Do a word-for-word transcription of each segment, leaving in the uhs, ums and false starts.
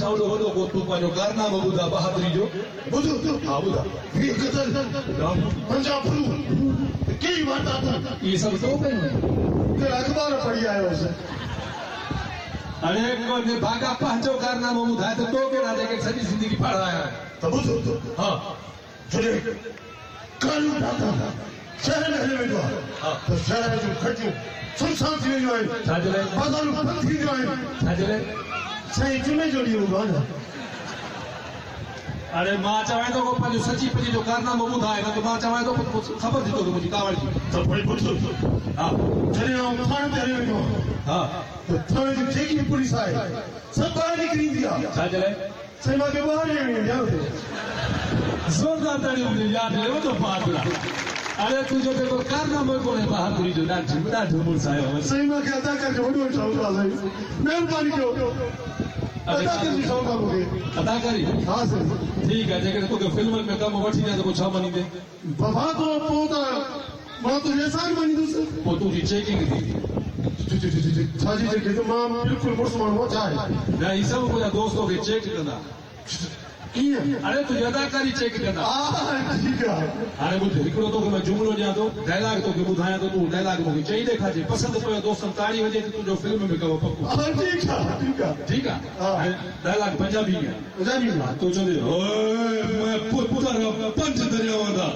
مان وڏو وڏو ڪو تون پنهنجو ڪارنامو ٻڌا بهادري جو ٻڌ ها ٻڌا ويهه قتل پنجاهه ڦرون ڪيئي وارداتون اهي سڀ تو ڪيون آهن ڪل اخبار پڙهي آيو هوس اڙي ڪو نڀاڳا پنهنجو ڪارنامو ٻڌائي ته تو ڪهڙا جيڪي سڄي زندگي پڙهايا آهن ته ٻڌ ها جڏهن ڪالو ڊاڪو شهر ۾ هليو ويندو آهي ته شهر جون کٽيون سنسان ٿي وينديون آهن ڇا جي لاءِ بازارون بند ٿي وينديون آهن ڇا جي لاءِ سائين جمعي جو ڏينهن هوندو آهي نه اڙي مان چوان ٿو پنهنجو سچي پچي جو ڪارنامو ٻڌائي نه ته مان چوان ٿو خبر ٿي توکي منهنجي ڪاوڙ جي ته پوءِ ٻڌ ها جڏهن آئون ٿاڻي تي هليو ويندو آهيان ها ته ٿاڻي جي جيڪي به پوليس آهي سڀ ٻاهر نڪري ايندي آهي ڇا جي لاءِ سائين مون کي ٻاهر ڏيڻ ايندي آهي اتي زوردار تاڙيون هجي ياد ڏي وڏو بهادر آهي اڙي تنهنجو ته ڪو ڪارنامو ئي ڪونهي بهادري جو ڏاڍو ڏاڍو مڙس آيو سائين مون کي اداڪار جو وڏو شوق آهي سائين مهرباني ڪيو اداڪاري جو شوق آهي مون کي اداڪاري ها سائين ٺيڪ آهي جيڪڏهن توکي فلمن ۾ ڪم وٺي ڏيان ته پوءِ ڇا مڃيندين بابا تو پوءِ ته مان تنهنجو احسان مڃيندس پوءِ تنهنجي چيڪنگ ٿيندي ڇا جي چيڪنگ مان بلڪل مڙس ماڻهو آهيان ڇا آهي نه هي سڀ منهنجا دوست توکي چيڪ ڪندا ڪيئن اڙي تنهنجي اداڪاري چيڪ ڪندا ها ٺيڪ آهي هاڻي ٻڌ هڪڙو توکي مان جملو ڏيان ٿو ڊائلاگ توکي ٻڌايان ٿو تون ڊائلاگ مون کي چئي ڏيکارجي پسند پيو دوستن تاڙي وڄي ته تنهنجو فلم ۾ ڪم پڪو ها ٺيڪ آهي ٺيڪ آهي ٺيڪ آهي ڊائلاگ پنجابي ۾ پنجابي ۾ تون چوندين اوئي مين پتر پنج درياوان دا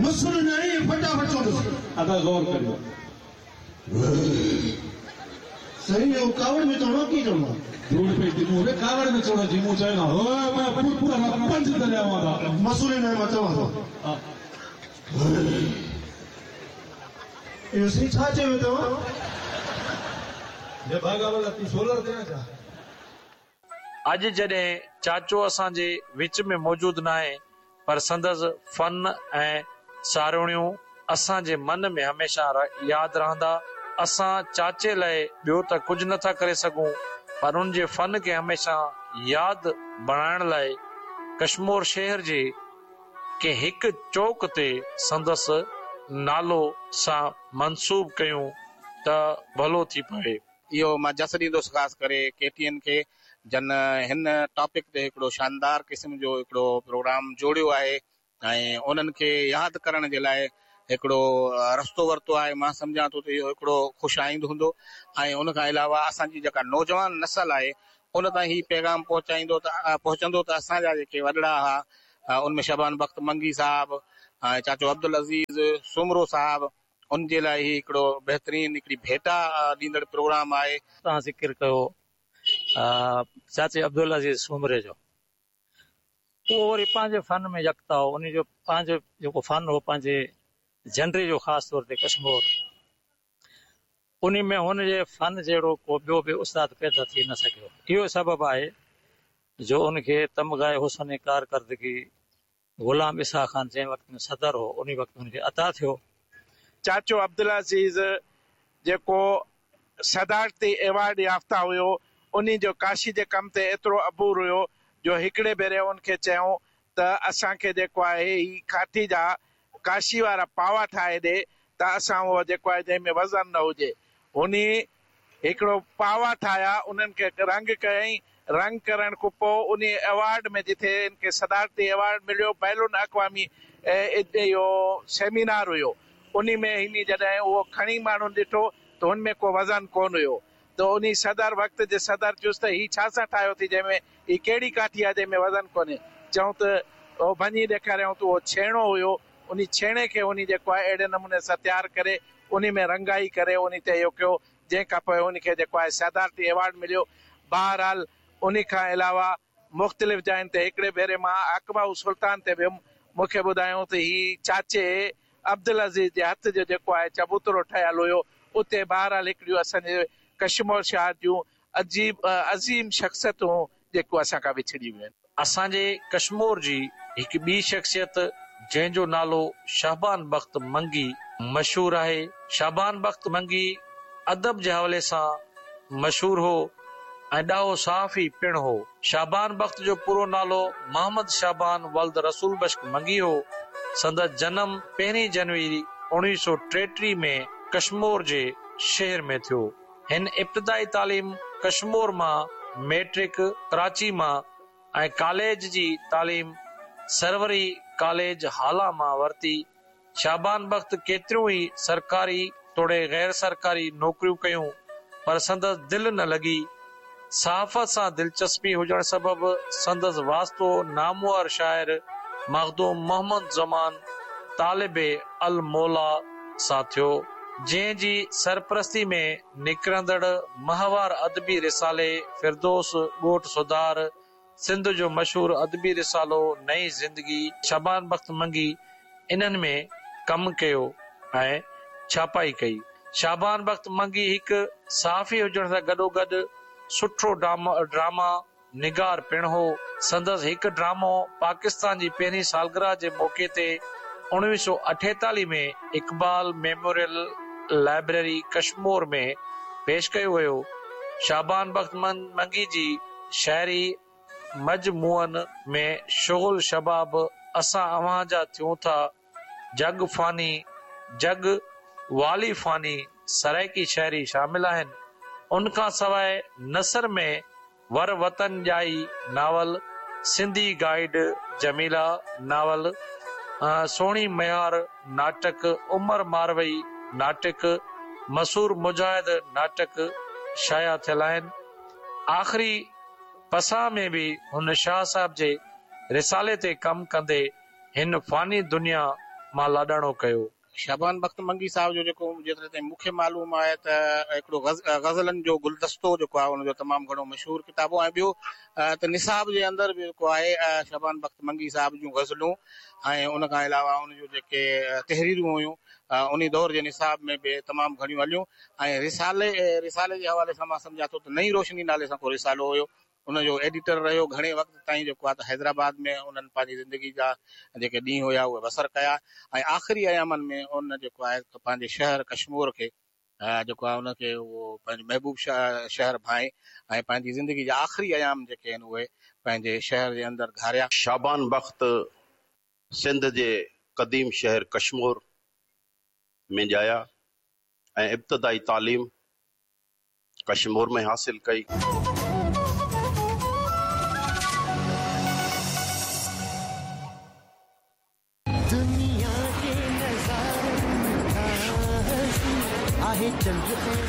مسل نه فٽافٽ چوندس ادا غور ڪريو سائين اهو ڪاوڙ ۾ چوڻو ڪيئن چوڻو آهي ڌوڙ پئي ٿي مون کي ڪاوڙ ۾ چوڻ جي مون چيو نه اوئي مين پتر پنج درياوان دا مسل نه مان چوان ٿو ها اهو سائين ڇا چيو توهان نڀاڳا والا تون سولر تي نه ڇا اڄ جڏهن چاچو اسان جي وچ ۾ موجود ناهي پر سندس فن ۽ ساروڻيون اسان جي من ۾ هميشه ياد رهندا. اسان چاچي لاءِ ٻيو ته ڪجهه نٿا ڪري سگهون پر ان جي فن کي هميشه ياد بڻائڻ لاءِ ڪشمور شهر جي ڪنهن هڪ چوڪ تي سندس نالو سان منسوب ڪيون ته ڀلو ٿي پوي. اهو مان جس ڏيندس خاص ڪري ڪي ٽي اين کي جن هن ٽاپڪ تي هڪڙو شاندار قسم جو هڪڙو پروگرام جوڙيو آهي ۽ انهن کي ياد ڪرڻ جي لاءِ هڪڙو رستو ورتو آهي. مان سمجهان ٿو ته اهو هڪڙو خوش آئند هوندو ۽ ان کان علاوه اسان جي جيڪا نوجوان نسل آهي ان تائين هي پيغام پهچائيندو ته پهچندو ته اسان جا جيڪي وڏڙا هئا ان ۾ شبان بخت منگي صاحب ۽ چاچو عبدل عزيز سومرو صاحب ان جي لاءِ هي هڪڙو بهترين هڪڙي ڀيٽا ڏيندڙ پروگرام آهي. توهان ذڪر ڪيو چاچي عبدل عزيز سومري جو، اهو وري پنهنجي فن ۾ يڪتا هو. ان جو پنهنجو جيڪو فن هو پنهنجي جنري جو خاص طور تي ڪشمور، ان ۾ هن جي فن جهڙو ڪو ٻيو به استاد پيدا ٿي نه سگهيو. اهو سبب آهي جو ان کي تمغائي حسن ڪارڪردگي غلام اسحاق خان جنهن وقت ۾ صدر هو ان وقت هن کي عطا ٿيو. چاچو عبدل عزيز جيڪو صدارتي ايوارڊ يافته هيو ان جو ڪاشي جي ڪم تي ايترو عبور هيو جو هڪڙي ڀيري ان کي چيون ته اسان کي جيڪو آهي هي ڪاٺي جا ڪاشي وارا پاوا ٺاهي ڏي ته اسان اهو جيڪو آهي جنهن ۾ وزن نه هجي. هن هڪڙو پاوا ٺاهيا، انهن کي رنگ ڪيائين. رنگ ڪرڻ کان پوءِ ان ايوارڊ ۾ جتي هن کي صدارتي ايوارڊ مليو بين الاقوامي اهو سيمينار هيو ان ۾ هن جڏهن اهو کڻي ماڻهن ڏٺو ته هن ۾ ڪو وزن ڪونه هيو ته ان صدر وقت جي صدر چيس ته هي ڇا سان ٺاهيو اٿئي جنهن ۾ هي ڪهڙي ڪاٺي آهي جنهن ۾ وزن ڪونهي. چئون ته اهو ڀڃي ڏيکاريائون ته اهو ڇيڻو هيو. ان ڇيڻي کي ان جيڪو آهي اهڙي نموني سان تيار ڪري ان ۾ رنگائي ڪري ان تي اهو ڪيو جنهن کان پوءِ ان کي جيڪو آهي صدارتي ايوارڊ مليو. بهرحال ان کان علاوه مختلف جاين تي هڪڙي ڀيري مان اڪبائو سلطان تي ويم، مون کي ٻڌايون ته هي چاچي عبدل عزيز جي هٿ جو جيڪو آهي چبوترو ٺهيل هيو. اتي بهرحال هڪڙيون اسان جي ڪشمور شهر جون عجيب عظيم شخصيتون جيڪو اسان کان وڇڙي ويون آهن. اسان جي ڪشمور جي هڪ ٻي شخصيت جنهن جو نالو شهبان بخت منگي مشهور آهي. شهبان بخت منگي ادب جي حوالي سان مشهور هو ۽ ڏاهو صحافي پڻ هو. شهبان بخت جو پورو نالو محمد شهبان ولد رسول بخش منگي هو. سندس جنم پهرين جنوري اڻويهه سؤ ٽيٽيهه ۾ ڪشمور جي شهر ۾ ٿيو. هن ابتدائي تعليم ڪشمور مان ميٽرڪ ڪراچي مان ۽ ڪاليج جي تعليم سروري ڪاليج هالا مان ورتي. شعبان بخت ڪيتريون ئي سرڪاري توڙي غير سرڪاري نوڪريون ڪيون، پر سندس دل نه لڳي. صحافت سان دلچسپي هجڻ سبب سندس واسطو نامور شاعر مخدوم محمد زمان طالب الموليٰ سان ٿيو، جنهن جي سرپرستي ۾ نڪرندڙ ماهوار ادبي رسالي فردوس ڳوٺ سڌار، سنڌ جو مشهور ادبي رسالو نئين زندگي، شعبان بخت منگي انهن ۾ ڪم ڪيو ۽ ڇاپائي ڪئي. شعبان بخت منگي هڪ صحافي هجڻ سان گڏوگڏ سٺو ڊراما نگار پڻ هو. سندس هڪ ڊرامو پاڪستان جي پهرين سالگرهه جي موقعي تي اڻويهه سؤ اٺيتاليهه ۾ اقبال ميموريل لائبريري ڪشمور ۾ پيش ڪيو ويو. شعبان بخت منگي جي شاعري مجموعن ۾ شغل شباب، اسان اوهان جا ٿيون ٿا، جڳ فاني، جڳ والي فاني، سرائيڪي شاعري شامل آهن. ان کان سواء نثر ۾ ور وطن ڄائي ناول، سنڌي گائيڊ جميلا ناول، سهڻي ميهار ناٽڪ، عمر ماروي ناٽڪ، مسور مجاهد ناٽڪ شايع ٿيل آهن. آخري پساهه ۾ به هن شاهه صاحب جي رسالي تي ڪم ڪندي هن فاني دنيا مان لاڏاڻو ڪيو. شعبان بخت منگي صاحب جو جيڪو جيتري تائين مون کي معلوم آهي ته هڪڙو غزلن جو گلدستو جيڪو آهي ان جو تمام گهڻو مشهور ڪتاب هو ۽ ٻيو ته نصاب جي اندر به جيڪو آهي شعبان بخت منگي صاحب جون غزلون ۽ ان کان علاوه ان جون جيڪي تحريرون هيون ان دور جي نصاب ۾ به تمام گهڻيون هليون ۽ رسالي رسالي جي حوالي سان مان سمجهان ٿو ته نئين روشني نالي سان ڪو رسالو هيو، ان جو ايڊيٽر رهيو گهڻي وقت تائين جيڪو آهي ته حيدرآباد ۾ انهن پنهنجي زندگي جا جيڪي ڏينهن هيا اهي بسر ڪيا ۽ آخري ايامن ۾ ان جيڪو آهي پنهنجي شهر ڪشمور کي جيڪو آهي ان کي اهو پنهنجو محبوب شهر ڀانئي ۽ پنهنجي زندگي جا آخري ايام جيڪي آهن اهي پنهنجي شهر جي اندر گهاريا. شعبان بخت سنڌ جي قديم شهر ڪشمور ۾ ڄايا ۽ ابتدائي تعليم ڪشمور ۾ حاصل ڪئي. दुनिया के नजारे चंद्र।